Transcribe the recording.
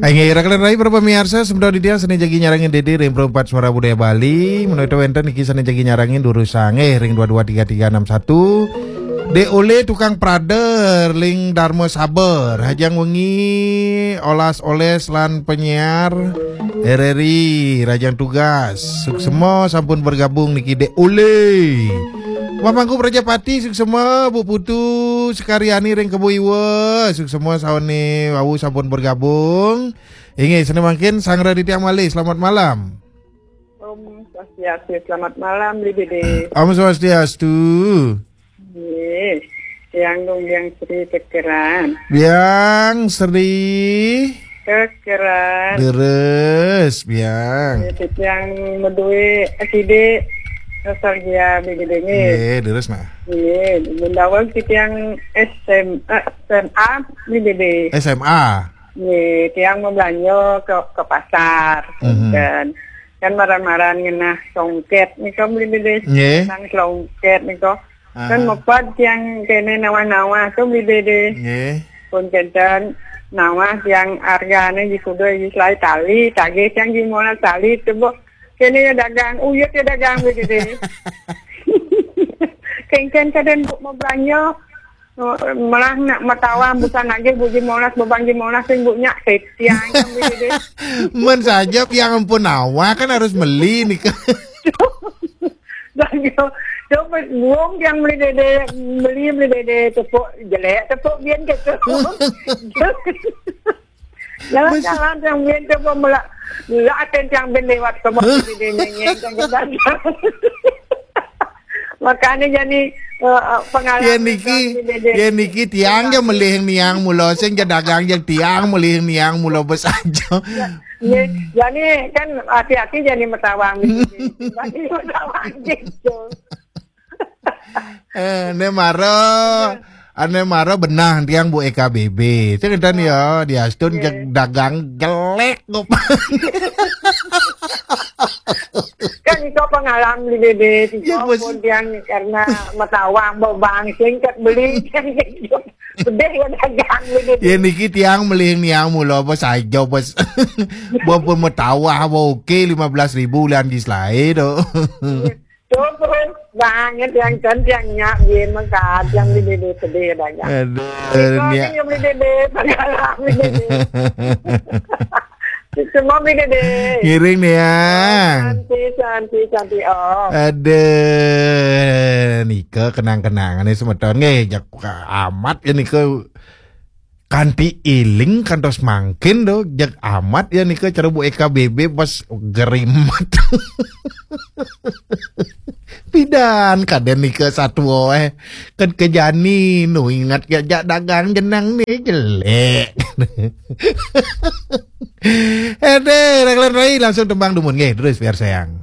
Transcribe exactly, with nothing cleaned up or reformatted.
Inggih, rakan rai para pamiarsa, semeton titiang sané jagi nyarengin Dédé ring Pro empat Suara Budaya Bali, menawi wénten niki sané jagi nyarengin durusang, eh, ring dua dua tiga tiga enam satu. Dé Olé tukang prader ring Dharma Sabar, rahajeng wengi, olas olés lan penyiar R R I, rahajeng tugas. Suksema sampun bergabung niki Dé Olé. Pamangku Prajapati, suksema, Bu Putu Sekaryani ring Kebo Iwa, suksema sané wau sampun bergabung. Inggih, sané mangkin sareng titiang malih, selamat malam. Om Swastiastu, selamat malam, Bli Dédé. Om Swastiastu. Nggih, tiang dong Biang Sri Kekeran. Biang Sri Kekeran. Leres, Biang. Nggih, tiang madué akidik nostalgia, Bli Dédé, nggih. Nggih, leres, nah. Nggih, mun daweg tiang S M A, S M A, Bli Dédé. S M A. Nggih, tiang mablanja ke, ke pasar. Mhm. Dan kan maran-maran ngenah songket nika, Bli Dédé. Nggih. Nang songket nika. Kan, aha, meped tiang kéné nawah-nawah to, Bli Dédé. Nggih. Pun kénten nawah tiang argané jikuda jislai tali, tagih tiang jimolas tali to, Bu. Kéné ya dagang, uyut ya dagang, Bli Dédé. Kéngkén kadén Bu mablanja. Malah nak matawah busan nagih Bu jimolas, bebang jimolas sing Bu nyak, tiang, Bli Dédé. Men saja tiang ampun nawah kan harus meli nika. Dah gitu. Coba buung tiang, Bli Dédé, beli, Bli Dédé, tepuk jelek, tepuk bien gitu. Jalan-jalan tiang bien tepuk melak. Melak aten tiang bien lewat ke Bli Dédé nyenyeng, tiang ke dagang. Makanya jadi, eh, eh, pengalaman. Ya niki, Bli Dédé. Ya niki tiang ya melih niang mula sing ya dagang ya tiang melih niang mula besaja. Ya, ya, jadi kan hati-hati jadi metawang gitu. Bagi metawang gitu. Eh, né mara, ané mara benah tiang Bu E K B B. Sing ngénten ya, diastun, nggih, jeg dagang jelek kok. Kan itu pengalaman di Dédé, ya, bos. Pun tiang karena metawang bebang singkat beli kan gitu. Pedih ya dagang gitu. Ya niki tiang melih niang mula apa saja, bos. Bapa metawah apa oké lima belas ribu ulian jislaé to. Tuh, terus banget yang kan tiang nyak bien mengkat yang di Dédé pedih ya dagang. Aduh, itu niang yang di Dédé pengalaman di Dédé. Semua Bli Dédé. Ngiring niang. Santi, santi, santi, oh. Aduh, nika kenang-kenangané semeton nggih, jak amat ya nika. Kanti iling kantos mangkin to, jeg amat ya nika cara Bu E K B B pas gerimet. Pidan kadén nika satua, eh. Kan kejani nu ingat ya jak dagang jenang né jelek. Édé, Raglan Rai langsung tembang dumun nggih, terus biar sayang.